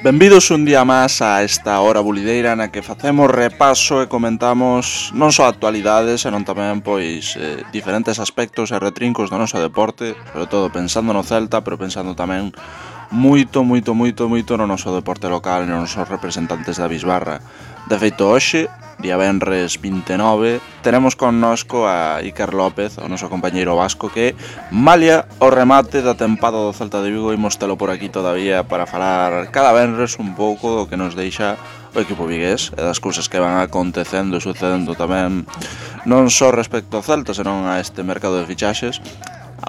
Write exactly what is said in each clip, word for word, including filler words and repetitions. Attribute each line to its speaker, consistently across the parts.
Speaker 1: Benvidos un día máis a esta hora bulideira na que facemos repaso e comentamos non só actualidades, senón tamén pois eh, diferentes aspectos e retrincos do noso deporte, sobre todo pensando no Celta, pero pensando tamén moito, moito, moito, moito no noso deporte local e nos nosos representantes da Bisbarra. De feito, hoxe, día venres vinte e nove, tenemos connosco a Iker López, o noso compañeiro vasco, que malia o remate da tempada do Celta de Vigo. Imos telo por aquí todavía para falar cada venres un pouco do que nos deixa o equipo vigués e das cousas que van acontecendo e sucedendo tamén non só respecto ao Celta, senón a este mercado de fichaxes,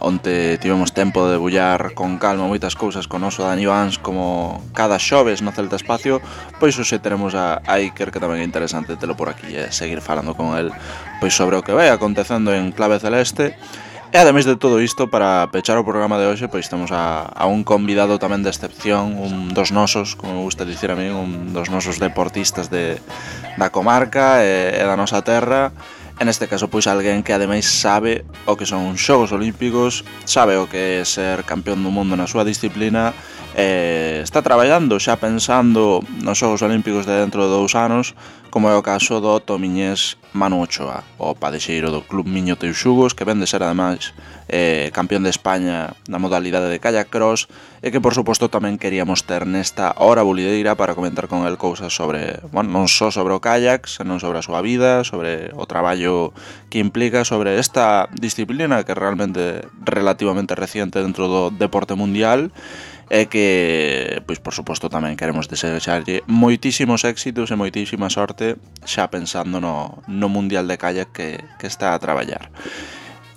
Speaker 1: onde tivemos tempo de debullar con calma moitas cousas con o noso Dani Vans como cada xoves no Celta Espacio. Pois hoxe teremos a, a Iker, que tamén é interesante telo por aquí e seguir falando con el pois sobre o que vai acontecendo en clave celeste. E ademais de todo isto, para pechar o programa de hoxe, pois temos a, a un convidado tamén de excepción, un dos nosos, como me gusta dicir a mí, un dos nosos deportistas de, da comarca e, e da nosa terra. En este caso, pois, alguén que ademais sabe o que son os Xogos Olímpicos, sabe o que é ser campeón do mundo na súa disciplina, e está traballando xa pensando nos Xogos Olímpicos de dentro de dous anos, como é o caso do tomiñés Manu Ochoa, o padexeiro do Club Miño Teixugos, que ven de ser ademais eh, campeón de España na modalidade de kayak cross, e que por suposto tamén queríamos ter nesta hora bulideira para comentar con el cousas sobre, bueno, non só sobre o kayak, senón sobre a súa vida, sobre o traballo que implica, sobre esta disciplina que é realmente relativamente reciente dentro do deporte mundial, e que, pois, por suposto, tamén queremos desexarlle moitísimos éxitos e moitísima sorte xa pensando no, no Mundial de Kayak que, que está a traballar.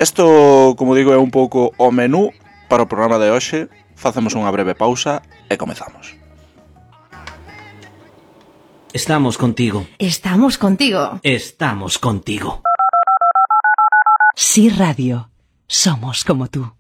Speaker 1: Isto, como digo, é un pouco o menú para o programa de hoxe. Facemos unha breve pausa e comezamos.
Speaker 2: Estamos contigo.
Speaker 3: Estamos contigo.
Speaker 2: Estamos contigo.
Speaker 4: Sí Radio. Somos como tú.